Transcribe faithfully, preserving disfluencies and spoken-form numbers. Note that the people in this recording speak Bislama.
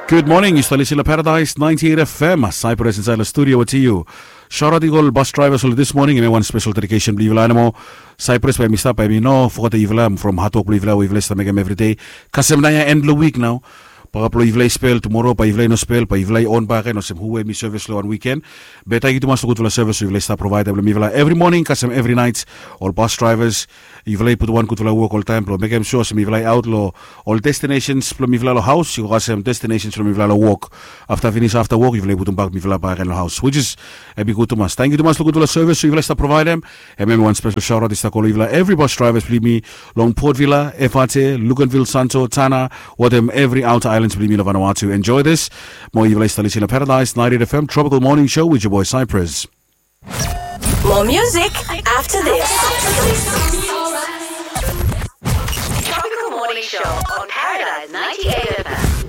Gud moning, yu stap lisin long Paradise ninety eight F M. Cyprus insaed long studio wetem yu. Shout out i go ol bus drivers oli this morning, em i wan special dedication blong yufala animo. Cyprus bae mi stap, bae mi no fogetem yufala from hard work blong yufala we yufala i stap mekem everyday. Kasem naoia end blong wik nao. Bakap long yufala i spel, tumoro bae yufala i no spel, bae yufala i on bakegen olsem hu we mi service long wan weekend. Be tangkiu tumas long gudfala service we yufala i stap provaedem long mifala every morning kasem every night. Ol bus drivers, yufala i putum wan gudfala wok oltaem blong mekem sua olsem yufala i aot long ol destinations blong mifala long haos, i go kasem destinations blong mifala long wok. Afta finis afta wok yufala i putum bak mifala bakegen long haos, which is em i gud tumas. Tangkiu tumas long gudfala service we yufala i stap provaedem. Em em wan special shout out i stap go long yufala every bus drivers blong yumi long Port Vila, Efate, Luganville, Santo, Tanna, wetem every outer islands blong yumi long Vanuatu. Enjoy this. Mo yufala i stap lisin long Paradise ninety eight F M Tropical Morning Show with your boy Cyprus. More music after this. Tropical Morning Show on Paradise ninety-eight